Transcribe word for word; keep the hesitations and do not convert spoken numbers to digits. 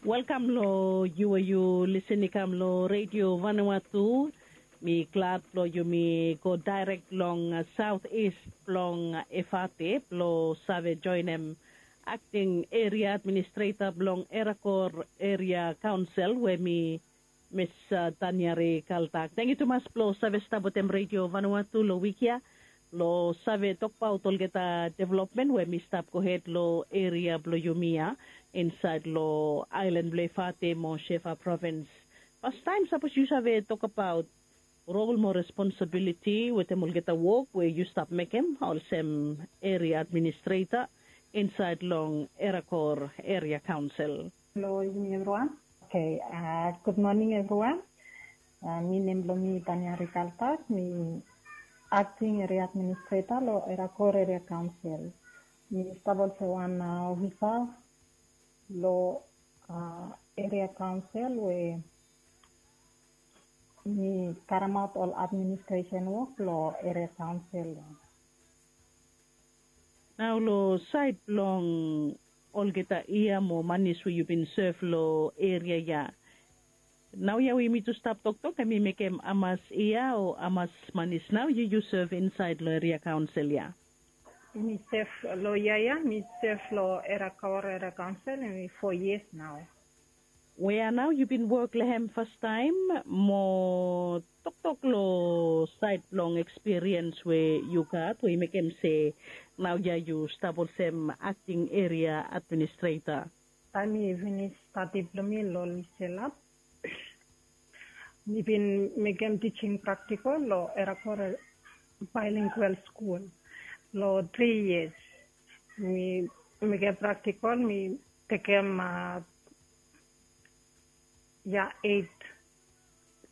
Welkam long yu we yu lisin i kam long Redio Vanuatu. Mi glad blong yumi go daerek long saot ist blong Efate blong save joenem akting eria administreta blong Erakor Eria Kaonsel we mi Mis Taniari Kaltak. Tengiu tumas blong save stap wetem Redio Vanuatu long wik ya blong save tokbaot olgeta developmen we mi stap gohed long eria blong yumi ya insaed long aelan blong Efate mo Shefa provins. Pastaem sapos yu save tokbaot rol mo responsabiliti wetem olgeta wok we yu stap mekem olsem eria administreta insaed long Erakor Eria Kaonsel. Hello, evening everyone. Okay, uh, good morning everyone. Uh, mi nem blong mi Tania Rikaltak, mi acting area administrator lo Erakor Area Council. Mi stap olsem wan uh, officer lo uh, area council we mi karemaot ol administration work lo area council. Nao long saed blong olgeta yia mo manis we yu bin sev long eria ya. Nao ya we yumi tu stap toktok, hemi mekem hamas yia o hamas manis nao yu yu sev insaed long eria kaonsel ya? Mi sev long yia ya, mi sev long Erakor Eria Kaonsel, hemi fo yias nao. Wea nao yu bin wok long hem fastaem mo toktok long saed blong ekspiriens we yu gat we i mekem se nao ya yu stap olsem akting eria administreta? Taem mi finis stadi blong mi long Liselap, mi bin mekem teaching practical long Erakor Bilingual School long tri yias. Mi mekem practical, mi tekem uh, ya eit